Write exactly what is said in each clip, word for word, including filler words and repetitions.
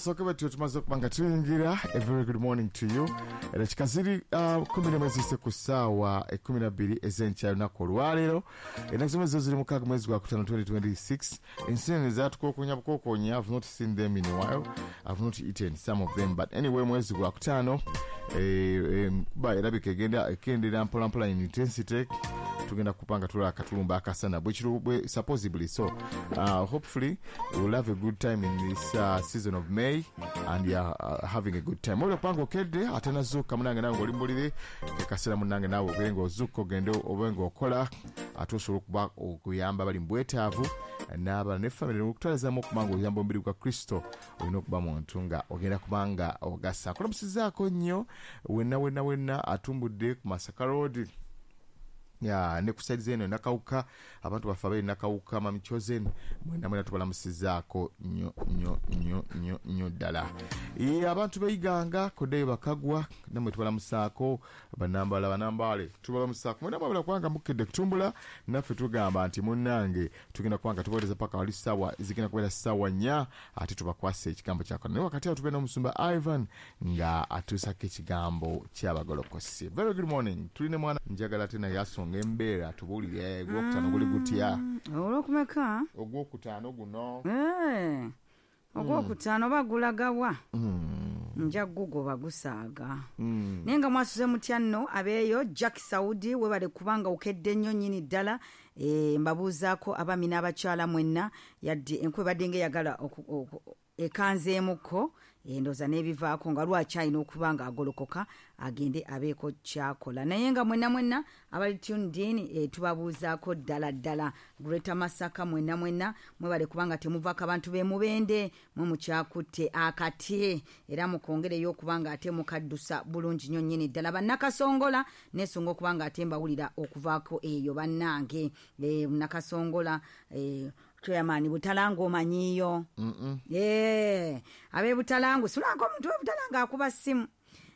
Kasooke bwe tumaze okuba nga tuyingira. A very good morning to you. Eddakiika ziri uh, kumi n'emu eziyise ku ssaawa ekkumi na bbiri ez'enkya lunaku olwaleero. Ennaku z'omwezi zo ziri mukaaga, mwezi gwa kutaano twenty twenty-six. Ensenene zatukookonya bukookonya. I've not seen them in a while. I've not eaten some of them, but anyway, mwezi gwa kutaano, eh, eh, kuba erabika egenda ekendera mpolampola in intensity. Tugenda kupanga tulaba akatulumba akasana bwekiru bwe supposedly. So uh, hopefully we'll have a good time in this uh, season of May and yeah, uh, having a good time. Olwo kupanga okedde ate nazuuka munange, nawe ng'oli mbulire kekaseera munange, naawe ogende ng'ozuuka, ogende obe ng'okola, ate osobola okuba okuyamba bali mu bwetaavu n'abalala ne family okutwalizamu. Okuba nga oyamba omubiri gwa Kristo, olina okuba muntu nga ogenda kuba nga ogasa. Kulamusizaako nnyo wenna wenna wenna atumbudde ku Masaka Road ya ne ku side zeno Nakawuka, abantu baffe abali Nakawuka, Mami Chosen, mwena mwena tubalamusizaako nnyo nnyo nnyo nnyo nnyo ddala. Ye, abantu beiganga koddeyo bakagwa, nammwe tubalamusaako. Banambala, banambaale, tubalamusaako mwena mwabala kubanga mukedde kutumbula. Naffe tugamba nti munnange tugenda kubanga tubawereza paka wali ssaawa zigenda kubeera ssaawa nnya, ate tubakwase ekigambo kyakona. Naye wakati awo tubeera n'omusumba Ivan nga atuusako ekigambo ky'abagolokosi. Very good morning. Tulina mwana njagala ate naye asonga embeera, tubuulire ogwokutaano guli gutya? Olwokumeka? Ogwokutaano guno. Eh, ogwokutaano oba gulagawa? Nja gugoba gusaaga. Naye nga mwasuze mutya nno abeeyo? Jack Saudi, webale kubanga okedde nnyo nnyini ddala. Eh, mbabuuzaako abaami n'abakyala mwenna, yadde enkuba ebadde ngaeyagala oku- oku- ekanzeemukko, endooza n'ebivaako nga lwaki alina okuba nga agolokoka agende abeeko kyakola. Naye nga mwenna mwenna abali tuned in, e, tubabuuzaako ddala ddala. Greater Masaka mwenna mwenna mwebale kubanga temuvaako. Abantu b'emubende mwe mukyakutte akati, era mukongereyo okuba nga ate mukaddusa bulungi nnyo nnyini ddala. Bannakasongola, nesunga okuba nga ate mbawulira okuvaako eyo bannange. e, nakasongola e, chairman Butalanga omanyiiyo? Eh, ab'e Butalangu, sulanga omuntu w'e Butalanga akuba ssimu.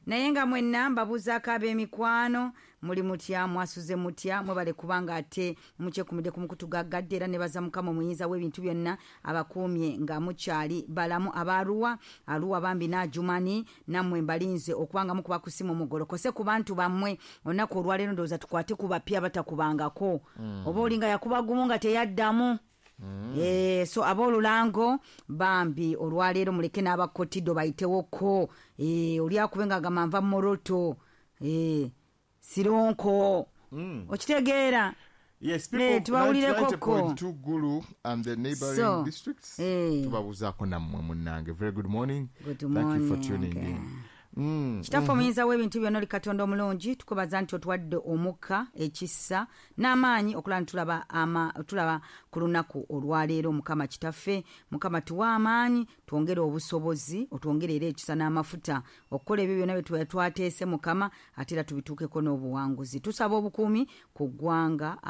Naye nga mwenna mbabuuzaako ab'emikwano, muli mutya? Mwasuze mutya? Mwebale kubanga ate mukyekumidde ku mukutu gaggadde, era nebaza Mukama omuyinza w'ebintu byonna abakuumye nga mukyali balamu. Abaruwa, Aruwa bambi n'Ajumani, nammwe mbalinze okubanga mukuba ku simu mugolokose ku bantu bammwe olunaku olwaleero. Ndowooza tukwate ku bapya batakubangako, oba olinga yakuba gumu nga teyaddamu. Eh, so aboolulango bambi olwaleero muleke n'abakotido bayitewoko. Eh, oli akube nga agamba nva Moroto, eh, Sironko, okitegeera? Yes, Eh, people, tubawulireko ko. ninety point two Gulu and the neighboring So, districts. eh. Tubabuuzaako nammwe munnange. Very good morning. Good Thank you for morning. tuning in. Mm. Kitaffe omuyinza w'ebintu byonna, oli Katonda omulungi, tukubaza nti otuwadde omukka, ekisa n'amaanyi okulaba nti tulaba ama- tulaba ku lunaku olwaleero. Mukama Kitaffe, Mukama, tuwa amaanyi, twongere obusobozi, otwongere era ekisa n'amafuta okukola ebyo byonna bye tuba twateese, Mukama, ate era tubituukeko n'obuwanguzi. Tusaba obukuumi ku ggwanga.